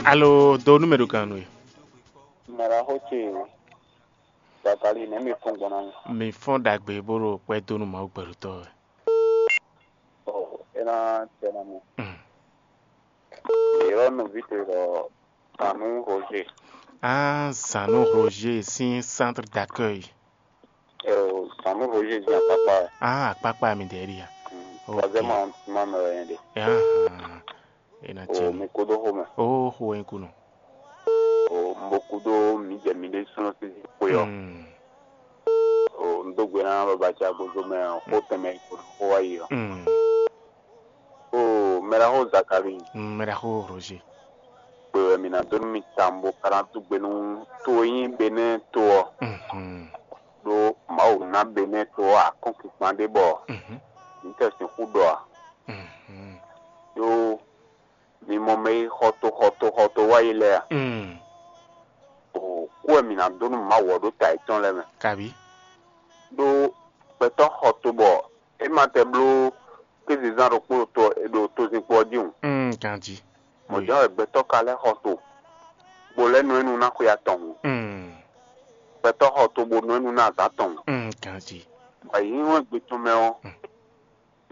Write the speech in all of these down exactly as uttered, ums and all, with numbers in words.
Alo, do nú mɛ ɖo gannú e. Mɛɖaxó ce Zakali nɛ̌ mi fɔ́n gbɔn ná mi? Mi fɔ́n ɖagbe bó ɖo kpɛ́ dó nú Mawu gbɛɖotɔ́ wɛ. Ɔ, é ná tɛ ná mi. Mm. Yɔ̌ nɔví towe ɖɔ Sanu Roger. Ah, Sanu Roger sín centre d'accueil. Ɛ o, Sanu Roger jẹ́ àpápá ẹ̀. Ah, àpápá mi dẹ̀ rí ya. Ok. Troisième arrondissement mɛ wɛ nyɛ ɖe. Ahan. E na O, tiɛ mi. Mi kúdó xomɛ. Oh, xo wɛ kunu. O, un bo kúdó mi jɛ mi ɖésúnɔ sín xwe ɔ́. Mm. O, un dó gbe ná babaca gozo mɛ ɔ́, xó tɛnmɛ ko xó wá yi ɔ́. Mm. O, mɛɖaxó Zakali. Mm, mɛɖaxó Roger. Kpe wɛ mi ná dó nú mi tawun bó ka ná dó gbe nú to e nyí Benɛ́ɛ to ɔ́. Mhm. Ɖó Mawu ná Benɛ́ɛ to ɔ́ akɔ́nkpinkpan ɖé bɔ Mhm. mǐ tɛ sixú ɖɔ ǎ. Mhm. Ɖó mi mɔ mɛ e xɔ to xɔ to xɔ to wá yi lɛ́ɛ a? Mm. O, kú wɛ mǐ ná dó nú Mawu ɔ́ ɖó ta yětɔn lɛ́ɛ mɛ. Kabi. Ɖó gbɛtɔ́ xɔ to bɔ é ma tɛ bló kézezán ɖokpó ɖo to ɖo tozinkpo ɔ́ jí hǔn. Mm, ganjí. Mɔ̌ jɛ́n wɛ gbɛtɔ́ ka lɛ́ xɔ to, bó lɛ́ nɔ ɛ nu ná xwe atɔn hǔn. Mm. Gbɛtɔ́ xɔ to bó nɔ ɛ nu ná azǎn tɔn hǔn. Mm, ganjí. Bɔ yě nyí wɛn gbe tɔn mɛ ɔ́, Mm.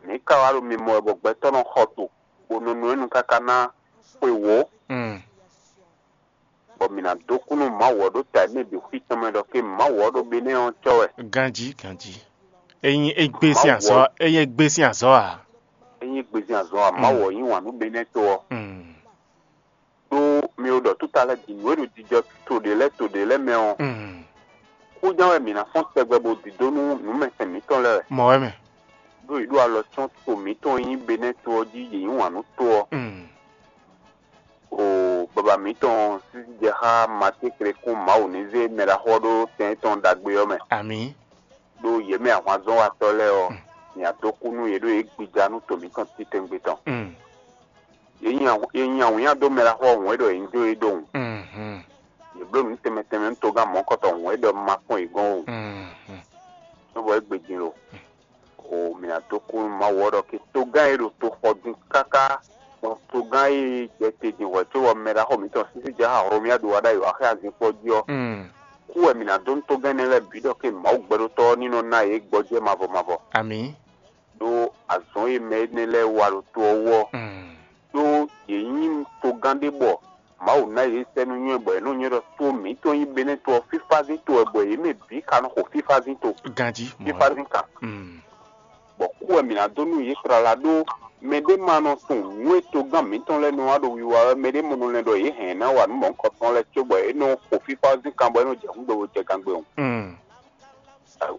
mǐ ka wá ɖo mimɔ wɛ bɔ gbɛtɔ́ nɔ xɔ to, bó nɔ nɔ ɛ nu káká ná xwe wǒ. Mm. Bɔ mǐ ná dó kú nú Mawu ɔ́ ɖó ta e mɛ bǐ xwí tɔn mɛ ɖɔ ké Mawu ɔ́ ɖo Benɛ́ɛ ɔ́ cɔ́ wɛ. Ganjí, ganjí. Ényí é gbé sín Mawu azɔ́, ɔ́, ényí é gbé sín azɔ́ ǎ. Ényí gbezin azɔn ǎ, Mm. Mawu ɔ́ yí wǎn nú Benɛ́ɛ to ɔ́. Mm. Ɖó mi ɖo ɖɔ túta lɛ́ɛ din, nǔ e ɖo jijɔ to ɖě lɛ́ɛ to ɖě lɛ́ɛ mɛ ɔ́, Mm. kúján wɛ mǐ ná fɔ́n tɛgbɛ bó dǐdó nú nǔmɛsɛn mǐtɔn lɛ́ɛ wɛ. Mɔ̌ wɛ mɛ. Ɖó yě ɖo alɔ cyɔ́n to mǐtɔn e nyí Benɛ́ to ɔ́ jí yě yí wǎn nú to ɔ́. Mm. O baba mǐtɔn sísí jɛ xá Matíkle kún Mawu ní zé mɛ ɖaxó ɔ́ ɖó tɛn tɔn ɖagbe ɔ́ mɛ. Amǐ. Ɖó yě mɛ ahwanzɔ́watɔ́ lɛ́ɛ ɔ́, Mm. mǐ ná dó kú nú yě ɖó yě gbija nú to mǐtɔn titɛngbe tɔn. Mm. Yě nyi awǐnnya dó mɛ ɖaxó ɔ́ hǔn é ɖɔ yě ní jó yě ɖo wǔn. Mhm. Yě bló nǔ tɛnmɛ tɛnmɛ nú togán mɔ̌kɔtɔn hǔn é ɖɔ un ma kpɔ́n yě gɔ́n o. Mhm. Cóbɔ é gbe din lo. O mǐ ná dó kú nú Mawu ɔ́ ɖɔ ké togán e ɖo to xɔ din káká, bɔ togán e jɛ te din hwɛ̌ cóbɔ mɛ ɖaxó mǐtɔn sísí jɛ xá Hlomia ɖo wa ɖ'ayǐ wá xá azinkpo jí ɔ́, Mm. kú wɛ mǐ ná dó nú togán énɛ́ lɛ́ɛ bǐ ɖɔ ké Mawu gbɛɖótɔ́ ɔ́ ní nɔ ná yě gbɔjɛ́ mavɔ mavɔ. Amǐ. Ɖó azɔ̌ e mɛ énɛ́ lɛ́ɛ wa ɖo to ɔ́ wú ɔ́, Mm. ɖó yě nyí togán ɖé bɔ Mawu ná yě sɛ́ nú nywɛ́ bɔ yě nɔ nywɛ́ ɖɔ to mǐtɔn nyí Benɛ́ to ɔ́, fífázín to wɛ bɔ yě mɛ bǐ ka nɔ xo fífázín to. Ganjí, mɔ̌ wɛ. Fífázín kan. Mm. Bɔ kú wɛ mǐ ná dó nú yě tlala ɖó mɛɖé ma nɔ tunwun nǔ e togán mǐtɔn lɛ́ɛ nɔ wa ɖo wiwa wɛ, mɛɖé mɔ nɔ lɛ́ ɖɔ yě hɛn ná wa nǔ mɔ̌hunkɔtɔn lɛ́ɛ cóbɔ é nɔ xo fífázín kan bɔ é nɔ jɛ hǔngbe bo jɛ gangbe o. Mm.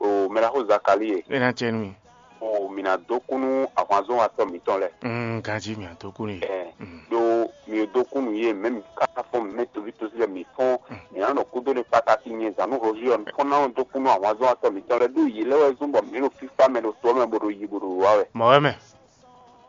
O mɛ ɖaxó Zakalíe. É ná cɛ nú mi. O mǐ ná dó kú nú ahwanzɔ́watɔ́ mǐtɔn lɛ́ɛ. Mm, ganjí mǐ ná dó kú nú yě. Ɛ Mm. Ɖó mǐ dó kú nú yě mɛ mǐ ka fɔ́n mɛ toví tosí lɛ́ɛ mǐ fɔ́n Mm. mǐ ná nɔ kúdó ɖe kpata ti nyɛ zǎn nú hɔ́ví ɔ́ fɔ́n ná nɔ dó kú nú ahwanzɔ́watɔ́ mǐtɔn lɛ́ɛ ɖó yě lɛ́ɛ wɛ zɔ́n bɔ mǐ ɖo fífá mɛ ɖo to ɔ́ mɛ bo ɖo yi bo ɖo wǔwá wɛ. Mɔ̌ wɛ mɛ.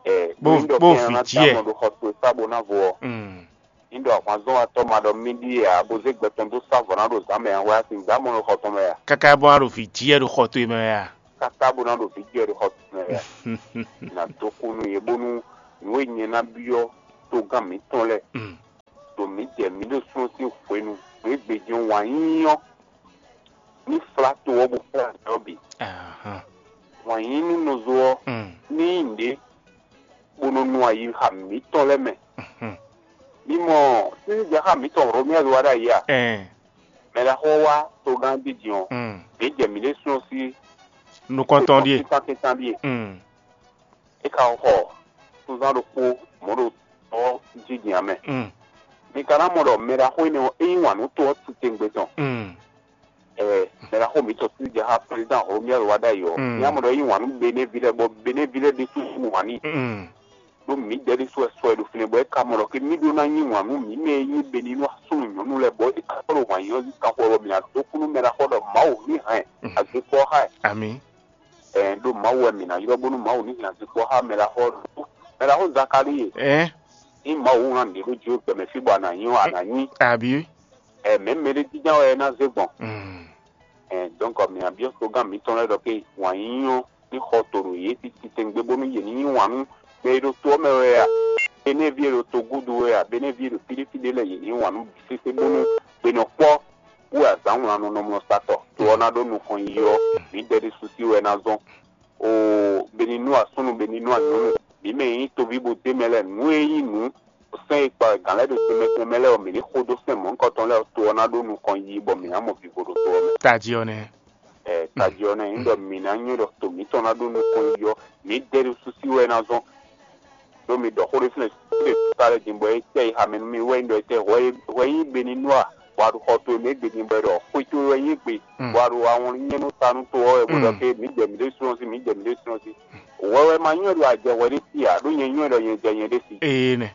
Ɛ Bó- mi ɖɔ bó kɛ ná vǐ dó jí ɛ. Amɔ ɖo xɔ towe fá bo ná vo ɔ́. Mm. Ní ɖɔ ahwanzɔ́watɔ́ ma ɖɔ mì ɖíe ǎ, bó zé gbɛ tɔn dó sá vɔ̌ ná ɖo zǎn mɛ ǎ, hwɛ a sǐ gbǎ mɔ ɖo xɔ tɔn mɛ a? Káká bó ná ɖo vǐ jí wɛ ɖo xɔ towe mɛ wɛ a? Káká bó ná ɖo vǐ jí wɛ ɖo xɔ tɔn mɛ wɛ a? Nǎ dó kú nú yě bónú nǔ e nyɛ ná byɔ́ togán mǐtɔn lɛ́ɛ, Mm. ɖo mǐ jɛ mǐ ɖo súnnu sín hwenu, nǔ e gbejɛ wǎn yíyí ɔ́, ní flá to ɔ́ bó flá azǎn ɔ́ bǐ. Ahán. Wǎn yíyí nú nɔzo ɔ́, Mm. ní nyí nǔɖé bó nɔ nu ayixa mǐtɔn lɛ́ɛ mɛ. Mhm. Mi mɔ sísí jɛ xá mǐtɔn Hlomia wá ɖ'ayǐ a? Ɛn. Mɛ ɖaxó ɔ́ wá togán jí din ɔ́, Mm. mǐ jɛ mǐ ɖésúnɔ sí Nukɔntɔn ɖíe. Kɛntan kɛntan ɖíe. Mm. É ka xɔ sunzán ɖokpó mɔ̌ ɖo tɔ́ jí din ǎ mɛ. Mm. Mi ka ná mɔ ɖɔ mɛ ɖaxó énɛ́ ɔ́, é yí wǎn nú to ɔ́ titewungbe tɔn. Mm. Ɛɛ, mɛ ɖaxó mǐtɔn sín jɛ xá président Romuald Wadagni ɔ́, Mm. mía mɔ ɖɔ é yí wǎn nú Benévi lɛ́ɛ, bɔ Benévi lɛ́ɛ ɖésú yí wǎn n'i. Mm. Ɖó mǐdɛɛ ɖésú wɛ sɔ e ɖo fínɛ́, bɔ é ka mɔ ɖɔ ké mì ɖó ná yí wǎn nú mǐ mɛ e nyí Beninɔ súnnu nyɔ̌nu lɛ́ɛ, bɔ é ka sɔ́ ɖo wǎn yíyí ɔ́ jí kanxɔ wɛ, bɔ mǐ ná dó kú nú mɛ ɖaxó ɖɔ Mawu ní hɛn Mm. azikpɔ́ xá ɛ. Amǐ. Ɛɛ, ɖó Mawu wɛ mǐ ná ylɔ́ bónú Mawu ní hɛn azikpɔ́ xá mɛ ɖaxó ɔ́ ɖo. Mɛ ɖaxó Zakalíe, Ɛɛ. ní Mawu hɛn nǔɖé ɖó jǐ we gbɛmɛ fí bɔ a nǎ nyí ɔ́, a nǎ nyí. Abǐ. Ɛɛ, mɛ̌ mɛɖé jínjɔ́n wɛ é ná zé gbɔn? Mm. Ɛɛ, donc mǐ ná byɔ́ togán mǐtɔn lɛ́ɛ ɖɔ ké wǎn yíyí ɔ́ ní xɔ to ɖo yě titewungbe bónú yě ní yí wǎn nú mɛ e ɖo to ɔ́ mɛ wɛ a? Benévi e ɖo togúdu wɛ a, Benévi e ɖo fíɖéfíɖé lɛ́ɛ, yě ní wǎn nú sésé bónú gbe nɔ kpɔ́ wú azǎn wlannɔ nɔ mlɔ satɔ. To ɔ́ ná ɖó nukɔn yiyi ɔ́, mǐdɛɛ ɖésú sí wɛ ná zɔ́n. Oo, Beninúa súnnu, Beninúa nyɔ̌nu, mǐ mɛ e nyí toví bó d'é mɛ lɛ́ɛ, nǔ e nyí nǔ sɛ́n e kpa wɛ gǎn lɛ́ɛ ɖo tɛnmɛ tɛnmɛ lɛ́ɛ ɔ́, mǐ ní xo dó sɛ́n mɔ̌hunkɔtɔn lɛ́ɛ ɔ́, to ɔ́ ná ɖó nukɔn yiyi bɔ mǐ ná mɔ vivo ɖo to ɔ́ mɛ. Tají ɔ́ nɛ́. Ɛ, tají ɔ́ nɛ́, nyí ɖɔ mǐ ná nywɛ́ ɖɔ to mǐtɔn ná ɖó nukɔn yiyi ɔ́, mǐdɛɛ ɖésú sí wɛ ná zɔ́n. Ɖó mi ɖɔ xó ɖé fínɛ́, xó ɖé ka lɛ́ din bɔ é tɛ yi xamɛ nú mì wɛ nyí ɖɔ é tɛ hwɛ nyí Beninúa, bɔ a ɖo xɔ towe mɛ égbé din bɔ é ɖɔ xwé towe wɛ nyí égbé, bɔ a ɖo awɔnlín nyɛ́ nú ta nú to ɔ́ wɛ, bó ɖɔ ké mǐ jɛ mǐ ɖésú ɔ́ sí, mǐ jɛ mǐ ɖésú ɔ́ sí. Hwɛ wɛ ma nywɛ́ ɖɔ a jɛ hwɛ ɖé sí ǎ, ɖó nyɛ nywɛ́ ɖɔ nyɛ jɛ nyɛ ɖé sí. Ee nɛ.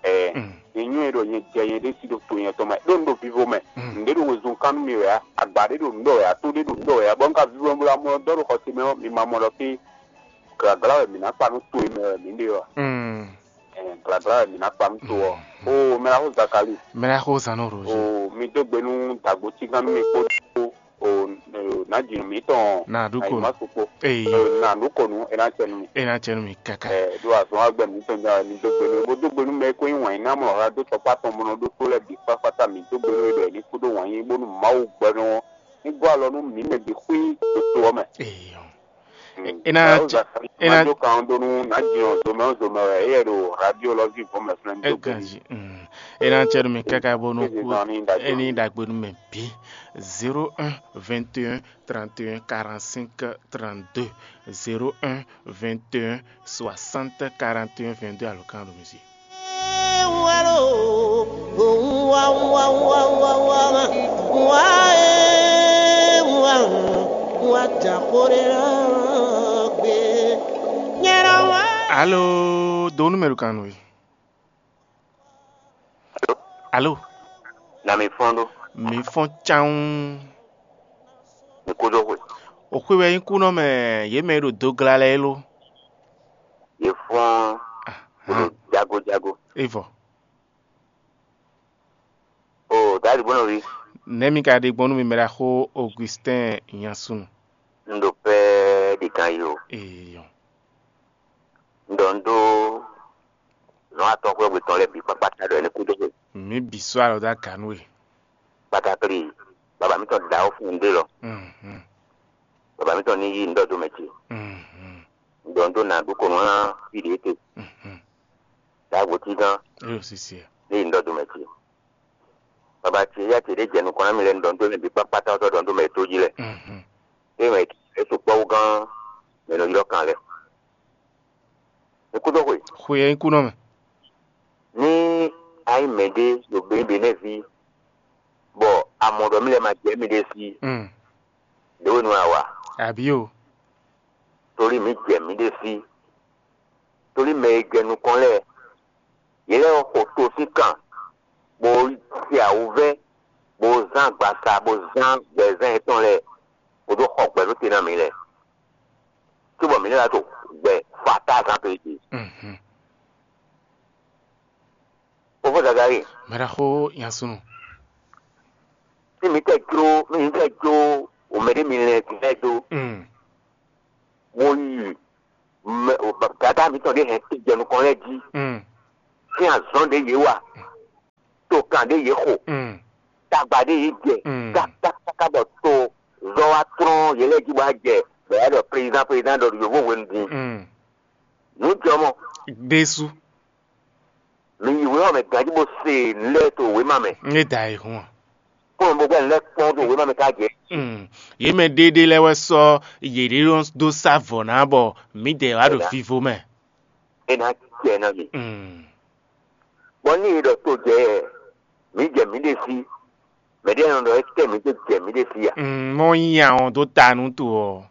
Ɛɛ, nyɛ nywɛ́ ɖɔ nyɛ jɛ nyɛ ɖé sí ɖo to nyɛ tɔn mɛ, ɖó un ɖo vivo mɛ. Nǔɖé ɖo wezun kán nú mi wɛ ǎ, agba ɖé ɖo nǔ ɖɔ wɛ ǎ, tó ɖé ɖo nǔ ɖɔ wɛ ǎ, bɔ un ka vivo bó ɖo amlɔ dɔ́ ɖo xɔse mɛ ɔ́, mi ma mɔ ɖɔ fí glagla wɛ mǐ ná kpa nú to e mɛ wɛ mǐ ɖe ɔ́. Ɛɛ, glagla wɛ mǐ ná kpa nú to ɔ́. Oo, mɛ ná xó Zakali. Mɛ ná xó zan nɔ ɖo jí. Oo, mi dó gbe nú dagbo cígán nú mi kpódó oo, nǎjinɔ mǐtɔn Nǎ ɖu ko. Ayǐmasu kpó. Eyi. Nǎ ɖu ko nú é ná cɛ nú mi. É ná cɛ nú mi káká. Ɛ ɖo azɔn agbɛ mǐtɔn nya wɛ mi dó gbe nú bó dó gbe nú mɛ e ko nyí wǎn yíná mlɔ ha dó tɔkpá tɔn mɔ nɔ ɖó tó lɛ́ɛ bǐ kpákpátá mǐ dó gbe nú é ɖɔ é ní kú ɖó wǎn yí bónú Mawu gbɛnú ɔ́ ní gɔ́ alɔ nú mǐ mɛ bǐ xwí ɖo to ɔ́ mɛ. Eyi. É ná Ɛ, cɛ- ó zǎn é ná- ná jó kan ɔ́ dó nú ná jin ɔ́ zomɛ ɔ́ zomɛ wɛ éyɛ́ ɖo radio lɔ ví vɔ̌ mɛ flɛ́ ní dó gbe n'i. Eganji. Mm. É ná cɛ nú mi káká bónú Kéze kú zan ní ɖagbe é ní n'i. Ɖagbe nú mɛ bǐ. Zéro un vingt et un trente et un quarante-cinq trente-deux. Zéro un vingt et un soixante quarante et un vingt-deux, alɔkan ɖo misi. Alo, donu mɛ ɖo kan nú we. Alo. Na mi fɔn ɖo. Mi fɔn cawun. Mi kó dó xwe. O xwe wɛ nyí kúnɔ mɛ, yě mɛ e ɖo dogla lɛ́ɛ é lo. Yě fɔn. Bó ɖo jago jago. Evɔ. O dali bó nɔ ví. Nɛ̌ mi ka ɖe gbɔn nú mi mɛ ɖaxó Augustin Nyasun? Un ɖo pɛ́ ɖi kan yi o. Eyɔ. Un ɖɔ un ɖó nɔ́ atɔ́xwɛ́ we tɔn lɛ́ɛ bǐ kpákpáta ɖɔ é ní kú dó xwe. Mi bǐ sɔ́ alɔ dó aga nú we. Kpatakli, baba mǐtɔn ɖa ó fún un ɖé lɔ. Mhm. Baba mǐtɔn ní yí un ɖɔ dó mɛ ce. Mhm. Un ɖɔ un ɖó nǎ ɖu kɔnɔ ná fí ɖě te. Mhm. Ɖagbo cí gán. Eyo sisi. Ní yí un ɖɔ dó mɛ ce. Baba ce yá ce ɖé jɛ nukɔn ná mi lɛ un ɖɔ un ɖó mɛ bǐ kpákpáta ɔ́ tɔ́ ɖɔ un ɖó mɛ tó jí lɛ. Mhm. Ée mɛ è sukpɔ́ wú gán mɛ nɔ ylɔ́ kan lɛ́ɛ. Mi kú dó xwe. Xwe ɛ nyí kú nɔ mɛ. Ní a nyí mɛɖé ɖo Benɛ́ ví, bɔ a mɔ ɖɔ mì lɛ́ ma jɛ mì ɖé sí, Mm. Ɖě we nú a wa? Abǐ o. Tóli mǐ jɛ mǐ ɖé sí. Tóli mɛ e jɛ nukɔn lɛ́ɛ, yě lɛ́ɛ xo to sín kan, bó se awǔvɛ́, bó zán agbaza, bó zán gbɛzán yětɔn lɛ́ɛ, bó dó xɔ gbɛ nú te ná mǐ lɛ́ɛ. Cóbɔ mǐ ní wá to gbɛ fatáza to yě. Mhm. Fofó Zagali, Mɛɖaxó Nyasunu. Ní mi tɛ jló, ní mi tɛ jló wǒmɛɖé mi lɛ́ɛ din lɛ́ɛ dó. Mm. Mo yi mɛ, dada mitɔn ɖé hɛn jɛ nukɔn lɛ́ɛ jí. Mm. Sín azɔn ɖé yě wa, tokan ɖé yě xo, Mm. tagba ɖé yě jɛ, Mm. kákákáká bɔ to zɔ wa tlɔ́n yě lɛ́ɛ jí bɔ a jɛ, bɔ yě ɖɔ président, président ɖɔ yǒvo hwenu din. Mm. Nǔ jɔ mɔ. Ɖésú. Mi yi wěma mɛ ganjí bó se nǔ lɛ́ɛ to wěma mɛ. Ní da e hun. Kó mɛ bó gbɛ́ nǔ lɛ́ɛ kpɔ́n to wěma mɛ ká jɛ. Mm. Yě mɛ ɖéɖé lɛ́ɛ wɛ sɔ́ yěɖée dó sá vɔ̌ ná bɔ mǐdɛɛ wá ɖo Ɛnɛ. Vivo mɛ. É ná jɛ ná mi. Mm. Bɔ ní e ɖɔ to jɛ mǐ jɛ mǐ ɖe sí, mɛ ɖé nɔ ɖɔ é kɛ mǐ dó jɛ mǐ ɖe sí a? Mm, mɔ nyí àwọn dó ta nú to ɔ́.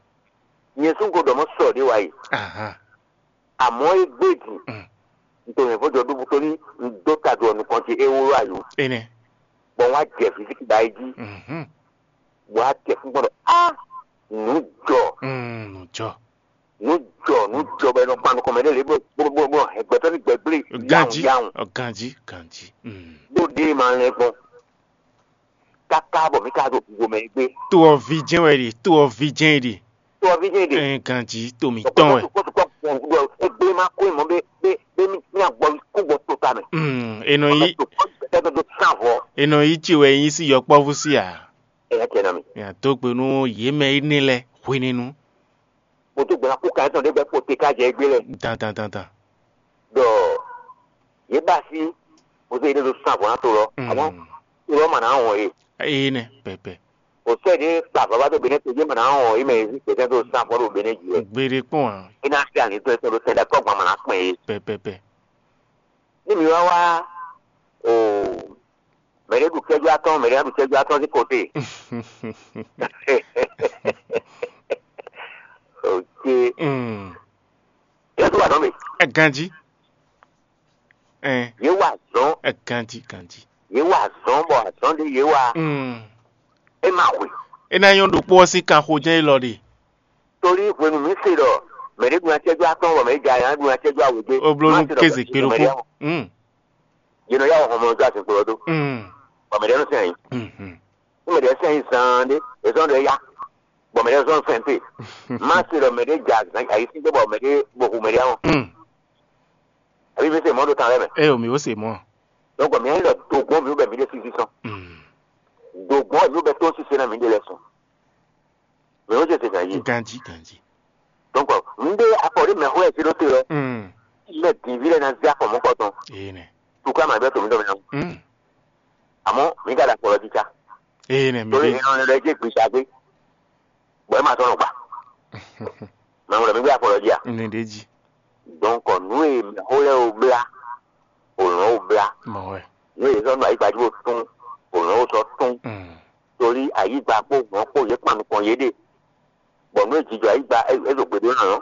Nyɛ sún ko ɖɔ mɔ sɔ ɖé wa yi. Ahan. Àmọ́ é gbé dì. Mm. Nítorí mɛ fɔ́n jɔ ɖó bútó ní un dó ta jɔ nukɔn ce é wó ayò. Énɛ́. Bɔ wọ́n á jɛ físíkì ba é jí. Mhm. Bɔ á jɛ fún gbọ́dọ̀ á nǔ jɔ. Mm, nǔ jɔ. Nǔ jɔ, nǔ jɔ bɔ ẹ nɔ kpan nukɔn mɛ ɖé lě bó bó bó bó hɛn gbɛtɔ́ ní gbɛgblé. Ganjí, yawun yawun. Ɔ, ganjí, ganjí. Mm. Bó ɖé ma lɛn gbɔn. Káká bɔ mí ká ɖo gbogbo mɛ é gbé. To ɔ ví jɛ́n wɛ ɖe, to ɔ ví jɛ́n ɖe. To ɔ ví jɛ́n ɖe. Ɛ, ganjí, to mǐtɔn wɛ. Sɔkpɔtɔ sɔkpɔtɔ Ɔn, ɖɔ egblé ma kó mɔ bé bé bé mí ná gbɔ kú gbɔ tó ta mɛ. Mm, e nɔ yi Tó kɔ gbɛtɛ tó sán vɔ. E nɔ yi ci wɛ nyi sí yɔkpɔ́vú sí a? Ɛ yɛ tɛ na mi. Ya dó gbe nú yě mɛ énɛ́ lɛ́ɛ hwenɛ́nu. Mo tó gbɛna kú kan tɔn ɖé gbɛ kpo te ká jɛ égbé lɛ. Dandan dandan. Ɖɔ yě ba sí mo tó yě ɖo sán vɔ ná to lɔ. Mm. Àmọ́ to lɔ mà ná wɔn yé. Eye nɛ pɛpɛ. O sɛ ɖé kpa vava tó benɛ to yé mà ná wɔn yé mɛ yé sí gbɛtɛ tó sán vɔ ɖo benɛ jì lɛ. Gbeɖé kpɔn a? É ná sí àní tó ɛ tɔn ɖo sɛn ɖe akɔgban mà ná kpɛn yé. Pɛpɛpɛ. Ní mi wá wá o mɛ ɖé ɖu kɛjú atɔ́ɔ́n, mɛ ɖé ná ɖu kɛjú atɔ́ɔ́n sín kote. Ok. Mm. Yéé wá azɔn mi. Ɛ ganjí. Ɛ Yé wá azɔn. Ɛ ganjí ganjí. Yé wá azɔn bɔ azɔn ɖé yé wá. Mm. É ma hwe. É ná nyɔ́ ɖokpó ɔ́ sín kanxo jɛ́n élɔ́ ɖe. Torí hwenu mi se ɖɔ mɛ ɖé ɖu nya cɛjú atɔ́ɔ́n bɔ mɛ ɖé ja nya ɖu nya cɛjú awěgbé. Ó bló nú kéze kpé ɖokpó. Mm. Yě nɔ yá wɔ hɔnmɔ dó azinkpo ɔ́ dó. Mm. Bɔ mɛ ɖé nɔ sɛn ayǐ. Mhm. Ní mɛ ɖé sɛn ayǐ zaan ɖé, è zɔ́n ɖɔ é yá. Bɔ mɛ ɖé zɔ́n fɛn te. Má se ɖɔ mɛ ɖé ja ayǐsín dó bɔ mɛ ɖé bo hu mɛ ɖé ahɔn. Mm. Àbí mi se mɔ̌ ɖo tan lɛ́ɛ mɛ. Ɛ o mi ó se mɔ̌. Donc mi nyí ɖɔ dogbɔn mi bɛ mi ɖe sisi sɔn. Mm. Dogbɔn mi bɛ tó sise na mi ɖe lɛ sɔn. Mi ó se se gan yi. Ganji ganji. Donc mi ɖe afɔ ɖe mɛ xɔ ɛ se ɖo te lɔ. Mm. Mɛ din vi lɛ na zé afɔ mɔkɔ tɔn. Ee nɛ. Tukla ma bɛ to mi dɔ mi na. Mm. Àmọ́ mi ka da kpɔlɔ jíjá. Ee nɛ mi Torí ɖe. Ìran rẹ jẹ́ gbèsè àgbé. Bọ̀ ẹ máa tọ́nà gbà. Màmú rẹ̀ mi gbé afɔ lɔ jí à. Ní ɖe jí. Donc nú e mɛ xó lɛ o blá, òlàn o blá. Mɔ wɛ. Nú e zɔ́ nú ayígbajú o tún, òlàn o sɔ tún. Mm. Torí ayígba kpó hàn kpó yě kpan nukɔn yé ɖe. Bɔ nú e jijɔ ayígba é zɔ gbèdó nà nɔ.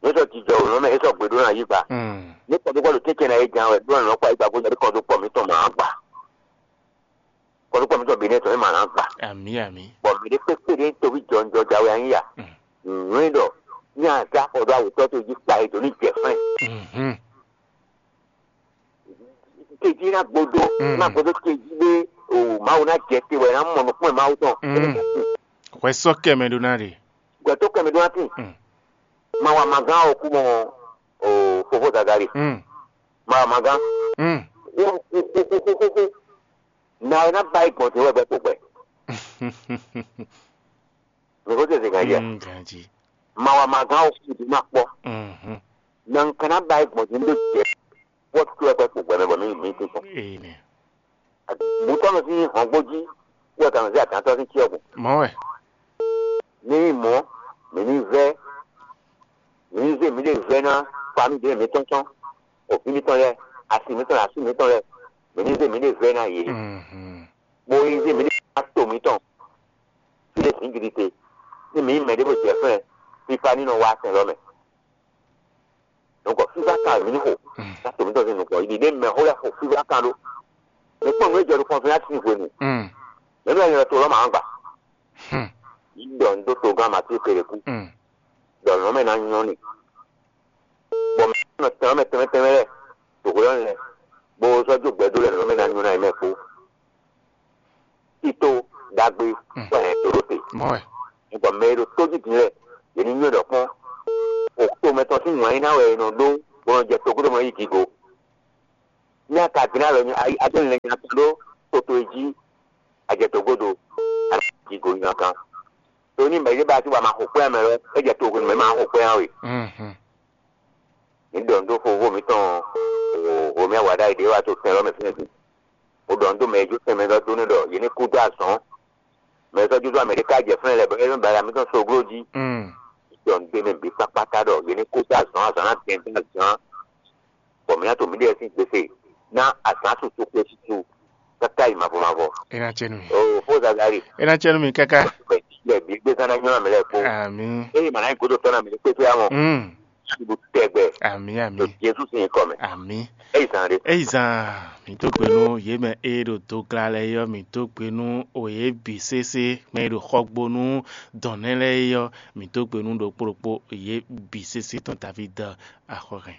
Nú e sɔ jijɔ òlàn mɛ é sɔ gbèdó nà ayígba. Mm. Ní kɔdúkɔdú kékeré ná yé gán wɛ ɖó nà nɔ kó ayígba gbó ní kɔdúkpɔ mǐtɔn mǎ gbà. Kɔdúkpɔ mǐtɔn bǐ nɛ́ tɔn é mǎ ná gbà. Àmì àmì. Bɔ mǐ ɖé kpékpé ɖé toví jɔnjɔ jǎwe anyí ya. Mm. Nǔ e ɖɔ ní azá xɔ ɖó awětɔ́ towe jí kpa e dǒ ní jɛ fɛ́n. Mhm. Tejí ná gbódó, Mm. Ná gbódó tejí ɖé o Mawu ná jɛ te wɛ ná mɔ nukún e Mawu tɔn. Mm. Hwɛ sɔ́ kɛ mɛ ɖó ná ɖe. Gbɛtɔ́ kɛ mɛ ɖó ná tín. Mm. Ma wa ma gán o kú mɔ o fofó Zazali. Mm. Ma wa ma gán. Mm. Xúxúxúxúxú. Na e ná ba yi gbɔn din wɛ gbɛ kpo gbɛ. Mi ko tɛ se kan jɛ. Mm, ganji. Ma wa ma gán o kú di ma kpɔ. Mhm. Na n kana ba yi gbɔn din ɖo jɛ. Wɔ tu wɛ gbɛ kpo gbɛ mɛ bɔ mi mi ti kpɔn. Ee nɛ. Butɔnɔ sín hɔngbó jí wɛ kan zé àtàntɔ sín cyɔ gbɔn. Mɔ wɛ. Ní mɔ mǐ ní vɛ́ mǐ ní zé mǐ ɖe vɛ́ ná fami ɖě mǐtɔn tɔn, òfin mǐtɔn lɛ́ɛ, asi mǐtɔn lɛ́ɛ, asú mǐtɔn lɛ́ɛ, mǐ ní zé mǐ ɖe vɛ́ ná yě. Mhm. Bó yi zé mǐ ɖe ná to mǐtɔn fí ɖé zǐngídi te, ní mǐ yi mɛ ɖěvo jɛ fɛ́n fífá ní nɔ wá sɛn lɔ mɛ. Donc fífá kan mǐ ní xo. Mm. Ká to mǐtɔn sín nukɔn yi ɖi ɖé mɛ xó lɛ́ɛ xo fífá kan ɖó. Mǐ kpɔ́n nǔ e jɛ ɖo kɔnfɛ́násí sín hwenu. Mm. Mɛ̌ nɔ nyɔ́ to lɔ́ mǎ gbà? Hmm. Yí ɖɔ un dó togán Matíu Keleku. Mm. Ɖɔ nǔ mɛ ná nyɔ́ n'i. Bɔ mɛ nɔ tɛnmɛ tɛnmɛ tɛnmɛ lɛ ɖo hwelɔ́ lɛ bó sɔ́ jó gbɛdó lɛ nǔ mɛ ná nyɔ́ ná yi mɛ kpó. Tito ɖagbe Mm. wɛ hɛn dǒ ɖó te. Mɔ wɛ. Bɔ mɛ e ɖo tó jí din lɛ yě ní nywɛ́ ɖɔ kpɔ́n. O to mɛtɔn sín wǎn nyíná wɛ è nɔ ɖó bó nɔ jɛ togúdo mɔ yi gigo. Ní a ka gblé alɔ nyi ayi adó lɛ nya kan ɖó toto e jí a jɛ togodo a nɔ ji go nyi kan. To ní mɛ yé ba sí wa ma xo kpɛ́ mɛ lɔ é jɛ togo mɛ ma xo kpɛ́ we. Mhm. Ní ɖɔ nǔ dó fofó mǐtɔn o o mɛ wa ɖ'ayǐ ɖé wa to tɛn lɔ mɛ fínɛ́ din. O ɖɔ nǔ dó mɛ e jó tɛn mɛ lɔ dó ní ɖɔ yě ní kú dó azɔ̌. Mɛ sɔ́ júzú Amɛɖika jɛ flɛ́n lɛ́ɛ bɔ é nɔ ba ya mǐtɔn soglo jí. Mm. Jɔ nǔgbé mɛ bǐ kpákpáta ɖɔ yě ní kú dó azɔ̌ azǎn ná dɛn dó azǎn, bɔ mǐ ná to mǐɖée sín gbese ná azǎn susu xwé susu káká yi mavɔ mavɔ. É ná cɛ nú mi. Oo fó Zazali. É ná cɛ nú mi káká. Bɛ bɛ bǐ gbé zán ná nyɔ́ amɛ lɛ́ɛ kpó. Àmín. Eye mǎ ná nyí gǒdo tɔ́ ná mǐ ní kpéfé amɔ. Mm. Suɖu tɛgbɛ. Àmín àmín. Ɖo Jezu sín nyǐkɔ mɛ. Àmín. Eyi zan ɖe. Eyi zan mǐ dó gbe nú yě mɛ e ɖo dogla lɛ́ɛ yɔ mǐ dó gbe nú o yě bǐ sésé mɛ e ɖo xɔgbo nú dɔ̌n nɛ́ lɛ́ɛ yɔ mǐ dó gbe nú ɖokpó ɖokpó yě bǐ sésé tɔn Davíd axɔ́hɛn.